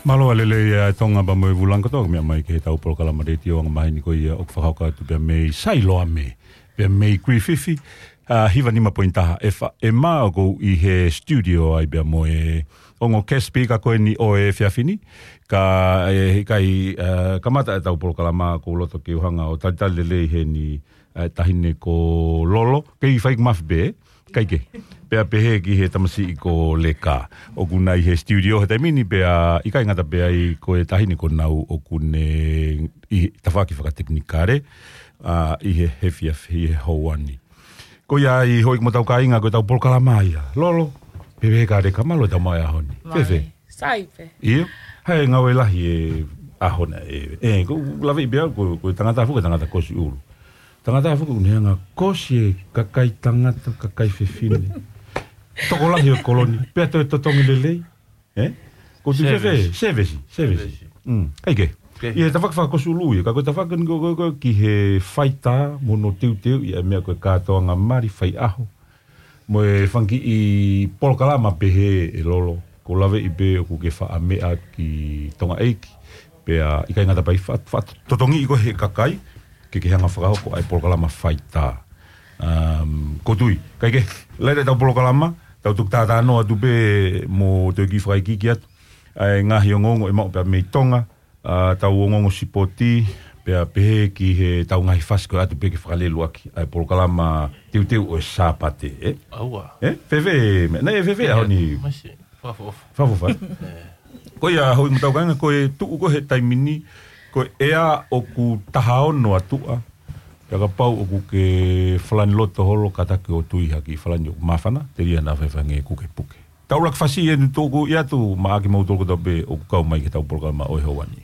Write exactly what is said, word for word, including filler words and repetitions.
Mālō e lelei ʻa Tonga pea mo e Vūlangi kotoa, meʻa mai ki heʻetau polokalama letiō anga maheni ko ia ʻoku fakahoko atu pea mei Sailoame, pea mei Griffith, ʻa, hiva nima poini taha F M, ʻoku ou ʻi he studio ai pea mo e ongo guest speaker ko eni ʻo e efiafi ni, ka ʻe ʻikai, ʻa, kamata ʻetau polokalama ʻoku ou loto ke u hanga ʻo talitali lelei heni, ʻa, taʻahine ko Lolo, kei fai mafi pē, ʻikai ke. Pea pehē ki he tamasiʻi ko Leka. ʻOku nau ʻi he studio he taimi ni pea ʻikai ngata pē ai ko e taʻahine ko Nau ʻoku ne ʻi he tafaʻaki fakatekinikale, ʻa, ʻi he efiafi he houa ni. Ko ia ai houʻeiki mo hotau kāinga ko ʻetau polokalama ia. Lolo, pehē ka Leka mālō e tau mai ʻaho ni. Mālō. Fēfē? Sai pē. ʻIo, ʻa e ngāue lahi e ʻaho na ē. ʻE, ʻoku ou laveʻi pē au, ko, ko e tangata foki, tangata kosi ʻulu. Tangata foki ʻoku ne hanga kosi e kakai tangata, kakai fefine. Tokolahi ʻo e kolo ni, pea toe totongi lelei. ʻE? ʻOku ou tui fēfē, service, service. Mm, ʻikai ke. ʻI he tafaʻaki fakakosi ʻulu ia, ka ko e tafaʻaki ni ko, ko, ko, ki he faitā, mo hono teuteuʻi ʻa e meʻa ko e kātoanga mali faiʻaho. Mo e fanga kiʻi polokalama pehē ʻe Lolo, ʻoku ou laveʻi pē ʻoku ke faʻa meʻa ki Tonga ʻEiki. Pea ʻikai ngata pē ai fa-, faʻa totongiʻi koe he kakai, ke ke hanga fakahoko ʻa e polokalama faitā. Um, ʻoku ou tui, ʻikai ke, laila ʻetau polokalama, tau tuku tātāno atu pē mo toe kiʻi fakaikiiki atu ʻa e ngaahi ongoongo ʻe maʻu pē mei Tonga, ʻa, tau ongoongo sipoti, pea pehē ki heʻetau ngaahi fasi ko e ʻatu pē ke fakalelu ʻaki ʻa e polokalama teuteu ʻo e Sāpate, ʻe? ʻAua. ʻE? Fēfē, meʻa, naʻe fēfē ʻaho ni? Masi, fakaʻofoʻofa. Fakaʻofoʻofa. ʻE. Ko ia houʻeiki mo hotau kāinga, ko e tuʻu ko ē he taimi ni, ko e ʻea ʻoku taha ono atu ʻa, pea kapau ʻoku ke falani loto holo kātaki ʻo tui ha kiʻi falani ʻoku māfana, telia naʻa faifai ngē kuke puke. Tau laki fasi ʻe nu tōku ia tu maʻa kimoutolu kotoa pē ʻoku kau mai ki heʻetau polokalama ʻo e houa ni.